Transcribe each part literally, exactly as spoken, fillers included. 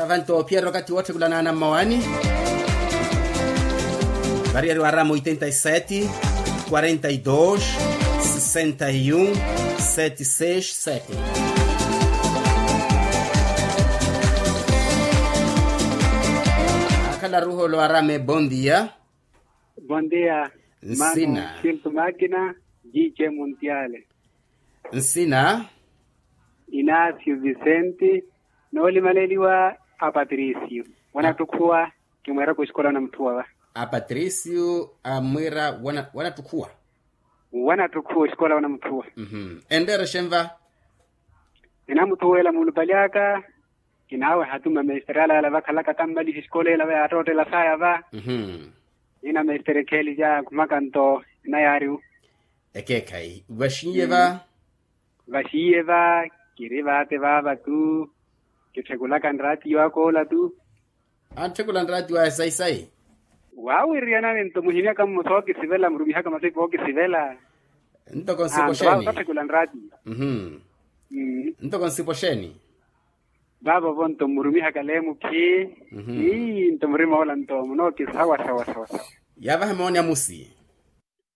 Vanto ophiyerya okathi wootthekulana ana mmawani. Variyari waramu oitenta y sete, quarenta y dos, sesenta y un, sete seis sete. Akhala ruholo arame bondia. Bondia. Nsina. Mano siltu makina. Jije muntiale. Nsina. Inacio vicente. Noolimaleliwa a patricio. Wanattukhuwa. Kimweeraka oxikola wanamutthuwa va. A patricio amwiira. Wanattukhuwa. Wanattukhuwa oxikola wanamutthuwa. Enreera exenva. Enamuthuwela muulupali aka. Kinaaweha tu mmamesterala yala vakhalaka tammaliha exikola ela va yaattottela saya va. Ina mestere kheli ja khumaka nto. Ina yaariwu. Ekeekhayi vaxiiye va. Vaxiiye va. Kiri vaate vaava tu. Kitthikulaka nraatiyo akoola tu. Antthikula nraatiyo aya sayi-sayi. Waawiriyanani nto muhimyaka mmo sookisivela murumihaka masipu ookisivela. Ntoko nsipo xeeni? Ntoko nsipo xeeni? Vaavo vonto mmurumihaka leemukhi. Ii nto murimoola nto munookisawa sawa sawa sawa. Yaavaha mooni amusi.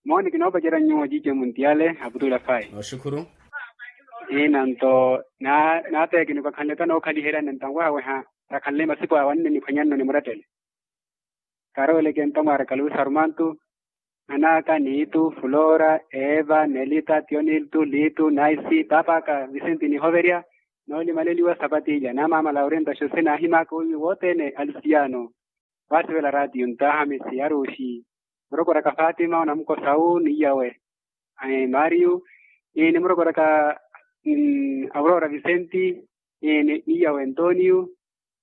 Mooni kinoopacerya nyuwo jice muntiyale. Aputula fayi. Nooxukhuru. Ina nto. Naateekini kwakhanle tanookhalihelyani nto anwahaweha. Rakhanle masipu awanne niphwanyanno nimurettele. Karoweleke nto mwaaraka luwi sarumantu. Anaka niitu fulora eva nelita tioniltu litu naisi papaka visenti nihoverya. Noolimaleliwa sapatija na maama laurinta xose naahimaka owiwi wothene alusiyano. Waasivela ratiyo ntaha mesi aruxi. Murokoraka fatima onamukosawu niyawe. Mario. Nimurokoraka aurora visenti. Niyawe antonio.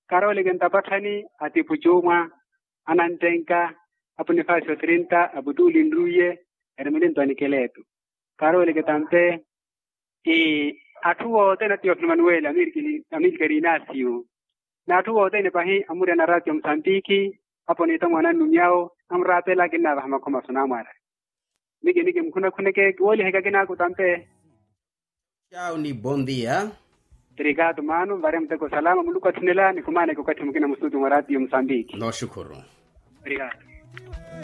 Karooleke ntapatthani atipu cuumwa anantenka. Apunifasio trinta aputuuli nruiye. Erimilinto anikeleetu. Karooleke tante. Atthu wothene atiyo filimanuweli amilkeri inasiyu. N'atthu wothene pahi amuriyana ratio musambiki. Apo niitta mwaana annumyawo. Amuraapela kinnaavaha makhomaso namwaara. Niki niki mukhuna khuneke kiwooliheke akinaaku tampe. Tchau ni bondia. Trikatu mano mvare muteko salama muluku atthunela nikumaaneke okathi mukina mustutu mwa ratio musambiki. Nooxukhuru. Trikatu.